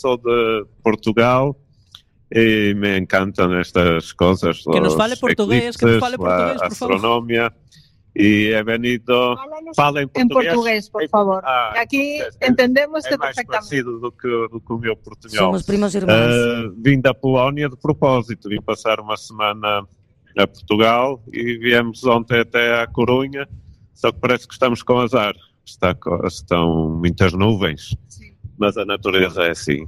sou de Portugal e me encantam estas coisas. Que nos fale portugués, por favor. Astronomia. E é venido... Fala em português, por favor. Aqui entendemos-te perfeitamente. É mais parecido do que o meu portunhol. Somos primos irmãos. Vim da Polónia de propósito. Vim passar uma semana a Portugal e viemos ontem até à Corunha, só que parece que estamos com azar. Estão muitas nuvens. Sim. Mas a natureza é assim.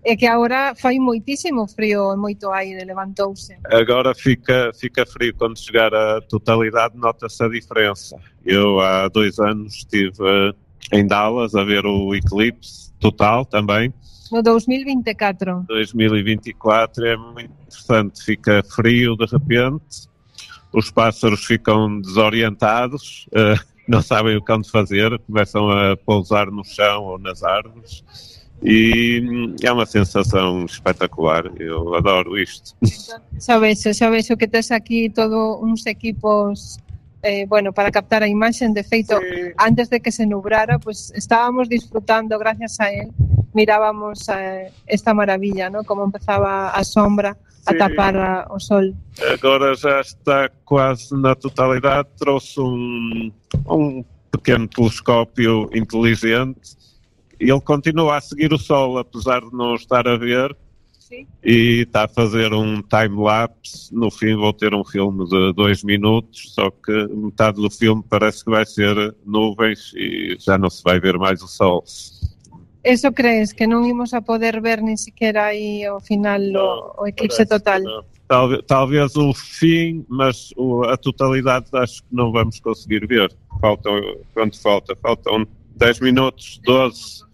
É que agora faz muitíssimo frio, muito aire, levantou-se. Agora fica frio. Quando chegar a totalidade, nota-se a diferença. Eu há 2 anos estive em Dallas a ver o eclipse total também. No 2024. 2024 é muito interessante. Fica frio de repente, os pássaros ficam desorientados, não sabem o que hão de fazer, começam a pousar no chão ou nas árvores e é uma sensação espetacular, eu adoro isto. Xa vexo que tes aquí todos uns equipos para captar a imaxen, de feito, sí. Antes de que se nubrara, pues estábamos disfrutando, gracias a él, mirábamos esta maravilla, ¿no? Como empezaba a sombra a tapar o sol. Agora já está quase na totalidade, trouxe um pequeno telescópio inteligente e ele continua a seguir o sol, apesar de não estar a ver. Sim. E está a fazer um time-lapse. No fim vou ter um filme de 2 minutos, só que metade do filme parece que vai ser nuvens e já não se vai ver mais o sol. Eso crees, que non imos a poder ver ni siquiera aí ao final o eclipse total? Talvez o fim, mas a totalidade acho que não vamos conseguir ver. Quanto falta? Faltam 10 minutos, 12.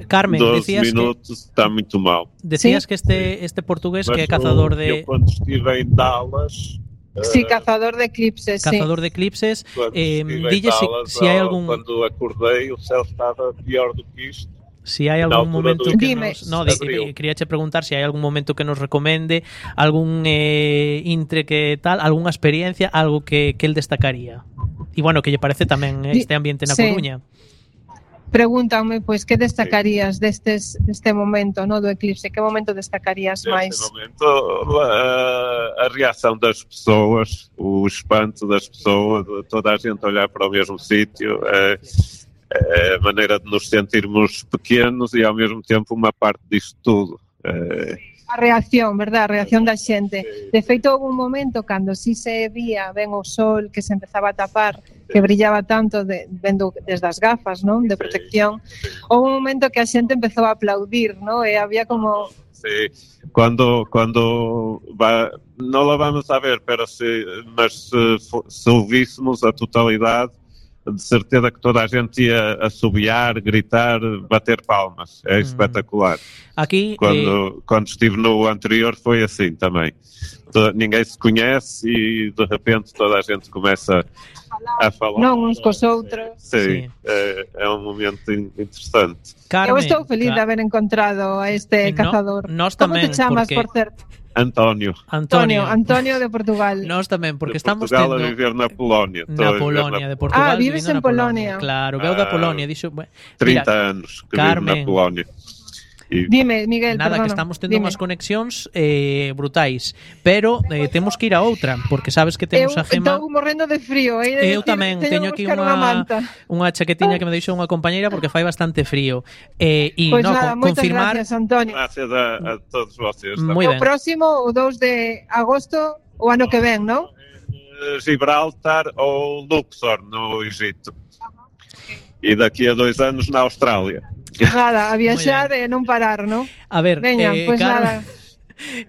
Carmen, 12 decías minutos, está muito mal. Decías que este portugués mas que é cazador de... Eu quando estive em Dallas... Sí, cazador de eclipses. Cazador de eclipses. Dille si hai algún... Quando acordei, o céu estaba pior do que isto. Si hai algún momento que quería che preguntar si hai algún momento que nos recomende, algún intre que tal, algunha experiencia, algo que el destacaría. E bueno, que lle parece tamén este ambiente na Coruña. Pregúntame, pois, que destacarías deste momento, no, do eclipse? Que momento destacarías máis? Neste momento, a reação das pessoas, o espanto das pessoas, toda a gente olhar para o mesmo sítio, a maneira de nos sentirmos pequenos e ao mesmo tempo uma parte disto tudo. A reacción, verdad? A reacción da xente. De feito, houve un momento cando si se vía ben o sol que se empezaba a tapar, que brillaba tanto vendo desde as gafas, non? De protección. Houve un momento que a xente empezou a aplaudir, non? E había como... Sí, cuando non lo vamos a ver, mas se ouvíssemos a totalidade, de certeza que toda a gente ia assobiar, gritar, bater palmas. É espetacular. Aqui, quando estive no anterior foi assim também. Ninguém se conhece e de repente toda a gente começa a falar. Não uns com os outros. Sim. É um momento interessante. Carmen, eu estou feliz de haber encontrado a este cazador. Nós Como tamén, te chamas, por certo? António de Portugal. Nós tamén, porque estamos Portugal a viver na Polónia. Na Polónia, de Portugal. Vives en Polónia. Claro, veu da Polónia. 30 anos que vivo na Polónia. Dime, Miguel, nada, perdona, que estamos tendo unhas conexións brutais, pero temos que ir a outra, porque sabes que temos a Gema. Estou morrendo de frío, eu tamén teño aquí unha chaquetiña que me deixou unha compañeira porque fai bastante frío. Pues nada, confirmar. Gracias, Antonio. Gracias a todos vocês. Moi ben. O próximo, o 2 de agosto, o ano que ven, non? Gibraltar ou Luxor, no Egito. E daqui a 2 anos na Austrália. Nada, a viaxar e non parar, non? A ver, veña, pues nada.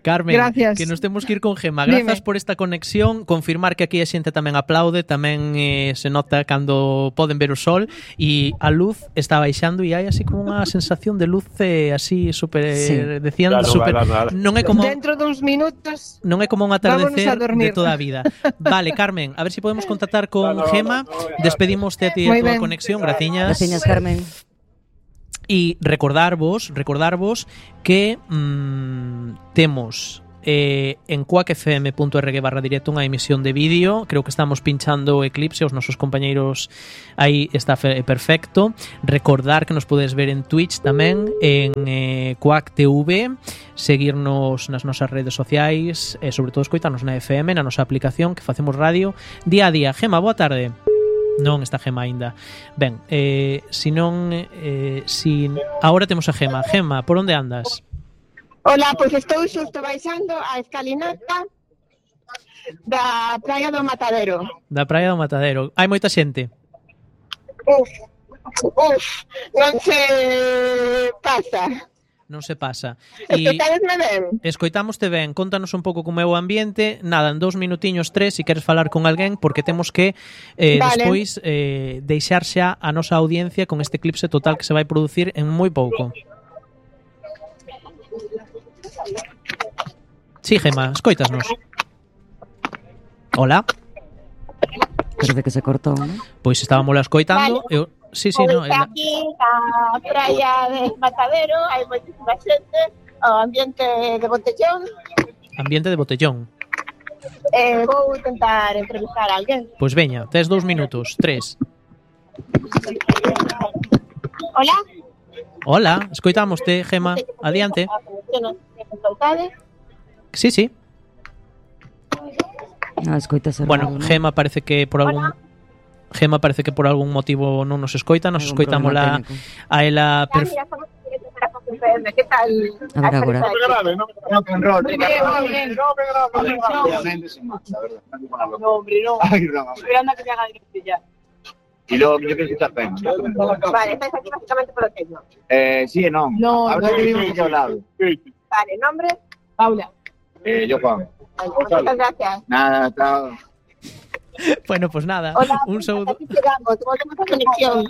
Carmen, gracias. Que nos temos que ir con Gema. Grazas por esta conexión. Confirmar que aquí a xente tamén aplaude, tamén se nota cando poden ver o sol e a luz está baixando e hai así como unha sensación de luz así super decían super. Non é como dentro duns minutos. Non é como un atardecer de toda a vida. Vale, Carmen, a ver se podemos contactar con Gema. Despedimoste a ti a tua conexión. Graciñas. Graciñas, Carmen. E recordarvos que temos en quackfm.org/directo unha emisión de vídeo. Creo que estamos pinchando o eclipse, os nosos compañeiros aí está perfecto. Recordar que nos podes ver en Twitch tamén, en Quack TV, seguirnos nas nosas redes sociais e sobre todo escoitarnos na FM, na nosa aplicación, que facemos radio día a día. Gema, boa tarde. Non está Gema aínda. Ben, si non agora temos a Gema. Gema, por onde andas? Hola, pois estou xusto baixando a escalinata da Praia do Matadero. Da Praia do Matadero. Hai moita xente? Uf, non se pasa. Non se pasa. Escoitadesme ben? Escoitámoste ben. Contanos un pouco como é o ambiente. Nada, en 2 minutiños, 3, se queres falar con alguén, porque temos que despois deixar xa a nosa audiencia con este eclipse total que se vai producir en moi pouco. Sí, Gema, escoitasnos. Hola. Parece que se cortou, ¿no? Pois estábamos la escoitando. Vale. Sí, no. Aquí na praia de Matadero hai moitísima xente, o ambiente de botellón. Ambiente de botellón. Vou tentar entrevistar a alguén. Pois veña, tes 2 minutos, 3. Hola. Hola, escoitámoste, Gema. Adiante. Sí, sí. Escoitase bueno, raro, ¿no? Gema parece que por algún motivo non nos escoita, nos escoitamos a ela ¿Qué tal? A ver agora. No, hombre, no. Esperando a que te haga directo ya. Y luego yo creo que está bien. Vale, estáis aquí básicamente por hotel, ¿no? Sí y no. No, ahora que vivimos aquí al lado. Vale, ¿nombre? Paula. Yo Juan. Muchas gracias. Nada, chao. Bueno, pues nada. Hola, un saúdo. aquí llegamos, volvemos a conexión.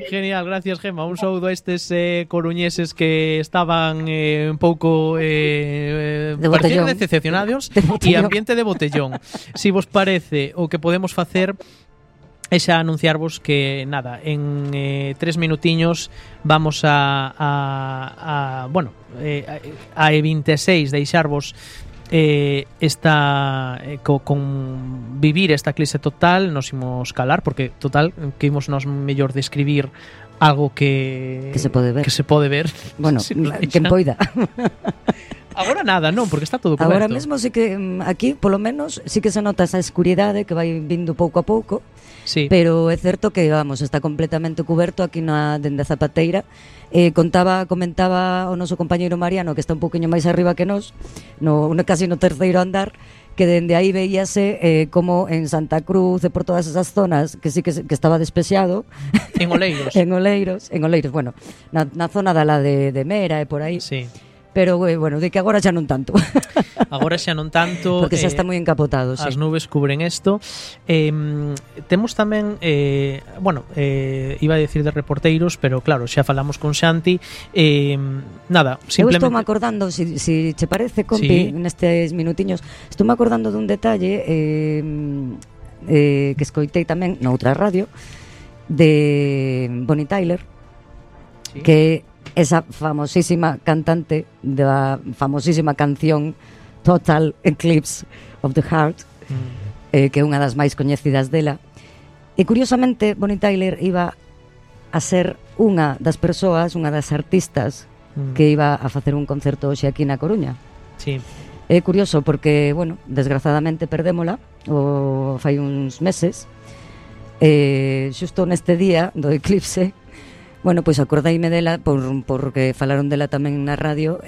Genial, gracias, Gema. Un saúdo a estes coruñeses que estaban un pouco parecían decepcionados e ambiente de botellón. Si vos parece, o que podemos facer é xa anunciarvos que, nada, en 3 minutiños vamos a E26 deixarvos con vivir esta eclipse total. Nos imos calar, porque total, que imos nos mellor describir algo que se pode ver. Bueno, si quen poida. Agora nada, non, porque está todo coberto. Agora mesmo sí que aquí, polo menos, sí que se nota esa escuridade que vai vindo pouco a pouco. Sí. Pero é certo que, vamos, está completamente cuberto aquí dende a Zapateira. Comentaba o noso compañeiro Mariano, que está un pouquiño máis arriba que nós, casi no terceiro andar, que dende aí veíase como en Santa Cruz e por todas esas zonas que sí que estaba despexado. En Oleiros. en Oleiros, bueno, na zona da la de Mera e por aí. Sí. Pero, bueno, de que agora xa non tanto. Agora xa non tanto. Porque xa está moi encapotado, as nubes cubren isto. Temos tamén, iba a decir de reporteiros, pero claro, xa falamos con Xanti. Nada, simplemente... Eu estou me acordando, si che parece, compi, nestes minutiños, estou me acordando dun detalle que escoitei tamén noutra radio, de Bonnie Tyler, que esa famosísima cantante da famosísima canción Total Eclipse of the Heart, que é unha das máis coñecidas dela. E curiosamente Bonnie Tyler iba a ser unha das persoas, unha das artistas que iba a facer un concerto hoxe aquí na Coruña. Sí. É curioso porque, bueno, desgrazadamente perdémola fai uns meses, xusto neste día do eclipse. Bueno, pois acordaime dela porque falaron dela tamén na radio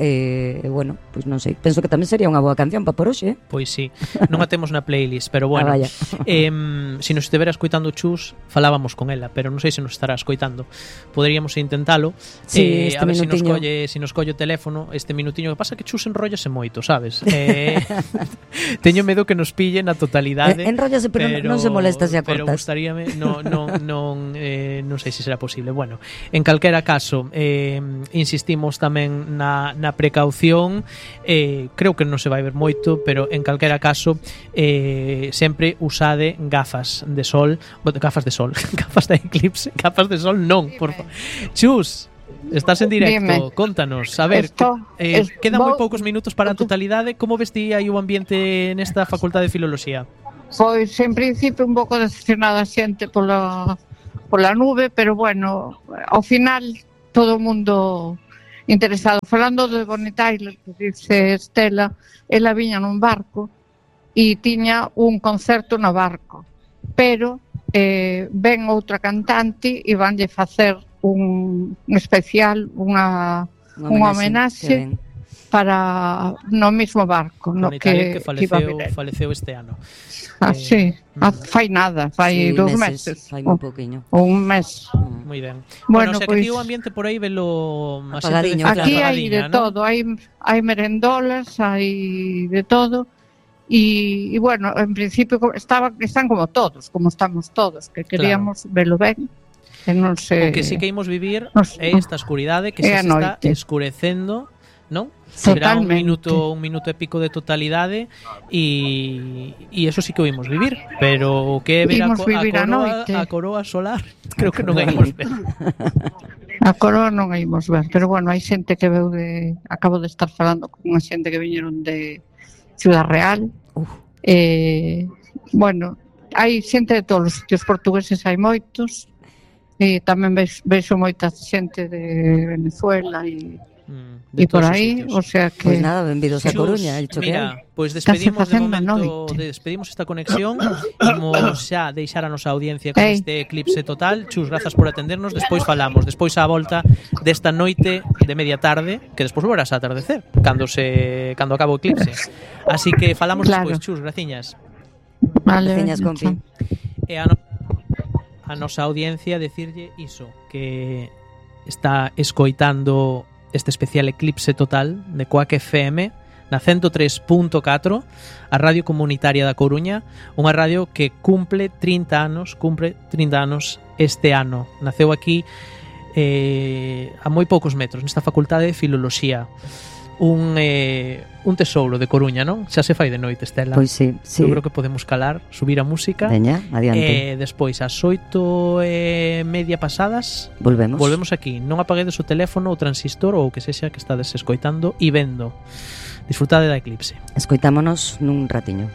bueno, pois non sei, penso que tamén sería unha boa canción para por hoxe. Pois sí, non a temos na playlist, pero bueno, se nos estivera escoitando Chus, falábamos con ela, pero non sei se nos estará escoitando. Poderíamos intentalo, sí, a ver se nos colle o teléfono este minutiño. Que pasa que Chus enrollase moito, sabes? Teño medo que nos pille na totalidade. Enrollase, pero non se molesta se a cortas. Pero gustaríame, non sei se será posible. Bueno, en calquera caso, insistimos tamén na precaución. Creo que non se vai ver moito, pero en calquera caso, sempre usade gafas de sol, gafas de eclipse, gafas de sol non, por favor. Chus, estás en directo, Dime. contanos, a ver, quedan moi poucos minutos para a totalidade, como ves ti aí o ambiente nesta Facultade de Filoloxía? Pois, en principio, un pouco decepcionada a xente pola nube, pero bueno, ao final, todo o mundo interesado. Falando de Bonnie Tyler, que dice Estela, ela viña nun barco e tiña un concerto no barco, pero ven outra cantante e vanlle facer un especial, unha homenaxe para no mismo barco, no que faleceu este ano. Sí, fai nada, fai 2 meses. Fai moi pouquiño. Un mes. Moi ben. Bueno, o sea, que ti o ambiente por aí velo apagadiño. Aquí hai de todo, hai merendolas, hai de todo. E bueno, en principio están como todos, como estamos todos, que queríamos velo ben. Que non sei. O que sí que imos vivir é esta escuridade que se está escurecendo, non? Será un minuto e pico de totalidade e eso sí que o imos vivir, pero o que é ver a coroa solar, creo que non a imos ver. A coroa non a imos ver, pero bueno, hai xente que veu acabo de estar falando con unha xente que viñeron de Ciudad Real. Bueno, hai xente de todos os sitios, portugueses hai moitos, e tamén vexo moita xente de Venezuela e por aí, o sea que... Pois nada, benvidos a Coruña. Mira, pois despedimos de momento, despedimos esta conexión. Imos xa deixar a nosa audiencia con este eclipse total. Chus, grazas por atendernos. Despois falamos, despois a volta desta noite de media tarde, que despois volverás a atardecer cando acabe o eclipse. Así que falamos despois, Chus, graciñas. Vale, graciñas, compi. E a nosa audiencia decirlle iso, que está escoitando este especial eclipse total de Coac FM na 103.4, a radio comunitaria da Coruña, unha radio que cumpre 30 anos este ano. Naceu aquí a moi poucos metros, nesta Facultade de Filoloxía. Un tesouro de Coruña, non? Xa se fai de noite, Estela. Pois sí. Eu creo que podemos calar, subir a música. Veña, adiante. Despois, ás 8:30 pasadas, volvemos aquí. Non apaguedes o teléfono, o transistor ou o que sexa que estades escoitando e vendo. Disfrutade da eclipse. Escoitámonos nun ratiño.